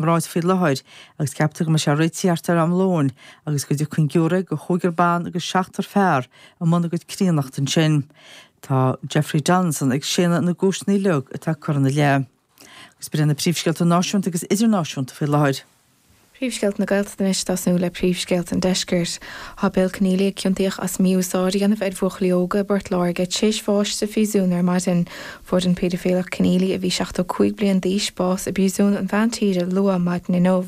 Ráit faoi láthair agus ceaptar go mbeidh sé réitithe thart ar am lóin agus go dtiocfaidh an giúiré de chúigear ban agus seachtar fear i mbun a gcuid críonnachta ansin. Tá Jeffrey Donaldson ag séanadh na gcúiseanna uilig atá curtha ina leith. Agus b'in iad na príomhscéalta náisiúnta agus idirnáisiúnta faoi láthair. Príomhscéalta na Gaeltachta anois, ag tosnú le príomhscéalta an Deiscirt. Tá Bill Conneely, a ciontaíodh as mí-úsáid a dhéanamh ar bhuachaillí óga i bPort Láirge, tar éis bháis sa phríosún ar maidin. Fuair an péidifileach Conneely, a bhí 75 bliain d'aois, bás i bPríosún an Mheántíre luath maidin inniu.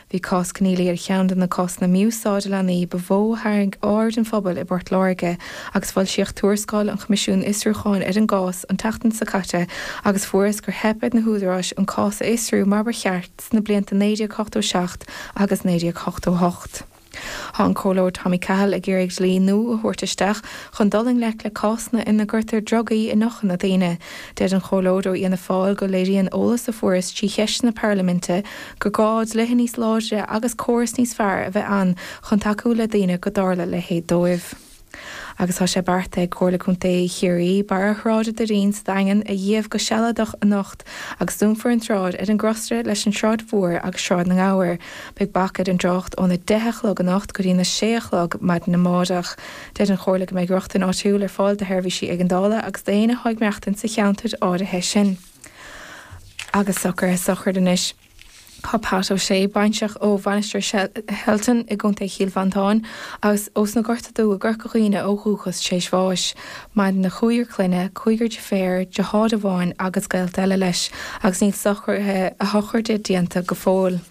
Bhí cás Conneely ar cheann de na cásanna mí-úsáide leanaí ba mhó a tharraing aird an phobail i bPort Láirge agus foilsíodh tuarascáil an Choimisiúin Fhiosrúcháin ar an gcás an tseachtain seo caite agus fuarthas gur theip ar na húdaráis an cás a fhiosrú mar ba cheart sna blianta 1987 agus 1988. Tá an Comhairleoir Tommy Cahill ag iarraidh dlí nua a thabhairt isteach chun dul i ngleic le cásanna ina gcuirtear drugaí i ndeochanna daoine. Deir an Comhairleoir ó Fhianna Fáil go léiríonn eolas a fuarthas trí cheisteanna parlaiminte gur gá dlíthe níos láidre agus córas níos fearr a bheith ann chun tacú le daoine go dtarla a leithéid dóibh. Agus tá sé beartaithe ag Comhairle Contae Chiarraí barra Shráid an Doirín sa Daingean a dhíbh go sealadach anocht agus dúnfar an tsráid ar an gcrosaire leis an Sráid Mhór agus Sráid na nGabhar. Beidh bac ar an dtrácht óna 10 a chlog anocht go dtína 6 a chlog maidin amáireach. Deir an Chomhairle go mbeidh rochtain áitiúil ar fáil do sheirbhísí éigeandála agus d'éinne atá ag maireachtaint sa cheantar áirithe sin. Agus socruithe sochraide anois. Tá Pat O'Shea baintreach ó Mhainistir Shelton i gContae Chill Mhantáin agus ós na Gorta Dubha i gCorca Dhuibhne ó dhúchas tar éis bháis. Maireann a chúigear clainne, cúigear deirféar, deartháir amháin agus gaolta eile leis agus níl socruithe a shochraide déanta go fóill.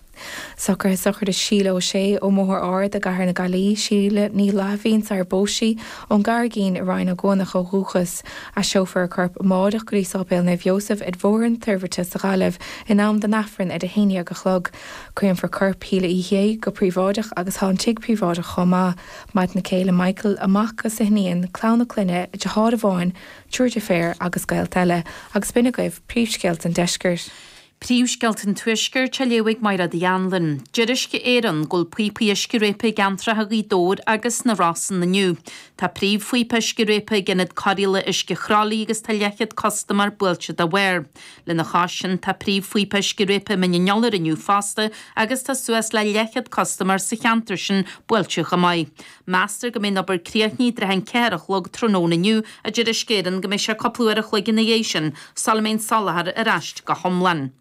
Socruithe sochraide Síle O'Shea ón mBóthar Ard i gCathair na Gaillimhe, Síle Ní Fhlaithbhín sar bpós sí, ón gCarraigín i Rinn Ó gCuanach ó dhúchas. Aistreofar a corp amáireach go dtí Sáipéal Naomh Iósaf ar Bhóthar na Toirbhirte sa Ghaillimh in am don Aifreann ar 11 a chlog. Créamfar corp Shíle Uí Shé go príobháideach agus tá an tigh príobháideach chomh maith. Maireann a céile Michael, a mac agus a hiníon, clann a clainne, deartháir amháin, triúr deirféar agus gaolta eile. Agus b'in agaibh príomhscéalta an deiscirt. Príomhscéalta an Tuaiscirt á léamh ag Mairéad Uí Anluain. Deir Uisce Éireann go bhfuil píopaí uisce réabtha i gceantracha Ghaoth Dobhair agus na Rosann inniu. Tá príomhphíopa uisce réabtha ag ionad cóireála uisce Chroithlí agus tá leathchéad custaiméir buailte dá bharr. Lena chois sin tá príomhphíopa uisce réabtha i Mín an Iolair inniu fosta agus tá suas le leathchéad custaiméir sa cheantar sin buailte chomh maith. Meastar go mbeidh an obair críochnaithe i dtrátha an ceathair a chlog tráthnóna inniu, a deir Uisce Éireann go mbeidh sé cúpla uair a chloig ina dhiaidh sin sula mbeidh an soláthar ar ais go hiomlán.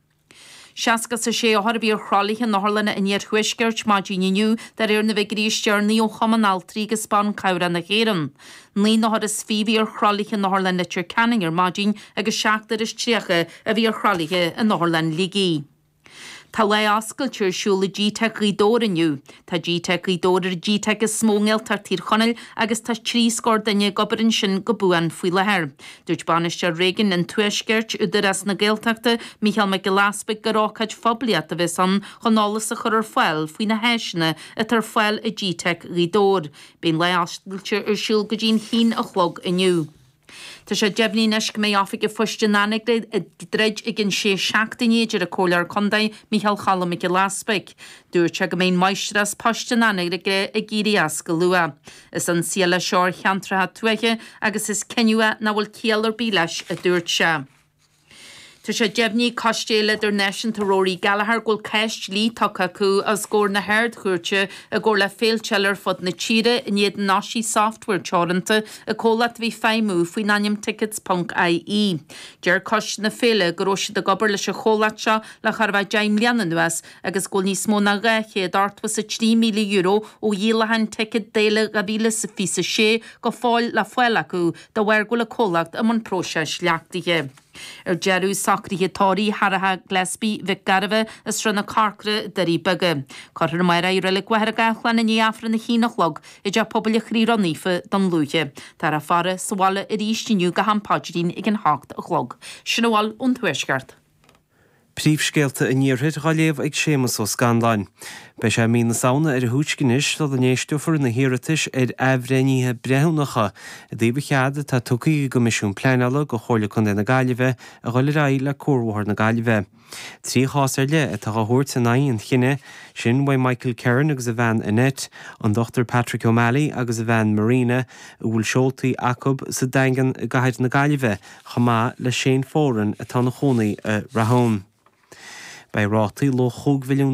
66 othar a bhí ar thralaithe in otharlanna an iarthuaiscirt maidin inniu de réir na bhfigiúirí is deireanaí ó Chumann Altraí agus Ban Cabhrach na hÉireann. 29 n-othar a bhí ar thralaithe in Otharlann Leitir Ceanainn ar maidin agus seachtar is 30 a bhí ar thralaithe in Otharlann Shligigh. Tá lá oscailte ar siúl i GTeic Ghaoth Dobhair inniu. Tá GTeic Ghaoth Dobhair ar an GTeic is mó i nGaeltacht Thír Chonaill agus tá 30 scór duine ag obair ansin go buan faoi láthair. Dúirt Bainisteoir Réigiún an Tuaiscirt, Údarás na Gaeltachta, Mícheál Mac Giolla Easpaig gur ócáid phoiblíochta a bheas ann chun eolas a chur ar fáil faoi na háiseanna atá ar fáil i GTeic Ghaoth Dobhair. Beidh an lá oscailte ar siúl go dtí an haon a chlog inniu. Tá sé deimhnithe anois go mbeidh Oifig an Phoist in Anagaire ag druid i gcionn sé seachtainí, a deir an Comhairleoir Contae Mícheál Choilm Mac Giolla Easpaig. Dúirt sé go mbeidh an Mháistreás Poist in Anagaire ag éirí as go luath. Is ionsaí eile seo ar cheantracha tuaithe agus is cinneadh é nach bhfuil ciall ar bith leis, a dúirt sé. Tá sé deimhnithe ag Coiste Fhéile Idirnáisiúnta Rory Gallagher go bhfuil cás dlí tugtha acu os comhair na hArd-Chúirte i gcomhar le féilte eile ar fud na tíre in éadan Oisí Software Teoranta, an comhlacht a bhí ag feidhmiú faoin ainm Tickets ponc IE. Deir Coiste na Féile go raibh siad ag obair leis an chomhlacht seo le chóir a bheith 10 mbliana anuas agus go bhfuil níos mó ná €283,000 ó dhíolachán ticéad d'fhéile 2026 go fóill le fáil acu de bharr go bhfuil an comhlacht i mbun próiseas leachtaithe. Ar deireadh, socruithe tórraimh Sharaha Gillespie Mhic Gairbheith as Srath na Corcra, Doirí Beaga. Cuirfear amárach í i Reilig Mhachaire Gathlán i ndiaidh Aifreann a haon a chlog i dTeach Pobail an Chroí Ró-Naofa, Dún Lúiche. Táthar á faire sa bhaile arís inniu go ham paidrín ag an hocht a chlog. Sin a bhfuil ón Tuaisceart. Príomhscéalta an Iarthair dhá léamh ag Séamus Ó Scanláin. Beidh sé mí na Samhna ar a thúisce anois sula n-éisteofar na hiarratais ar athbhreithnithe breithiúnacha i dtaobh an chead atá tugtha ag an gCoimisiún Pleanála do Chomhairle Contae na Gaillimhe a dhul ar aghaidh le Cuarbhóthar na Gaillimhe. 3 chás ar leith atá á thabhairt in aghaidh an chinnidh sin uaidh Michael Kerin agus a bhean Annette, an Dr Patrick O'Malley agus a bhean Marina, a bhfuil seoltaí acu sa Daingean i gcathair na Gaillimhe, chomh maith le Shane Foran atá ina chónaí i Rathún. Beidh rátaí luach 15 mhilliún.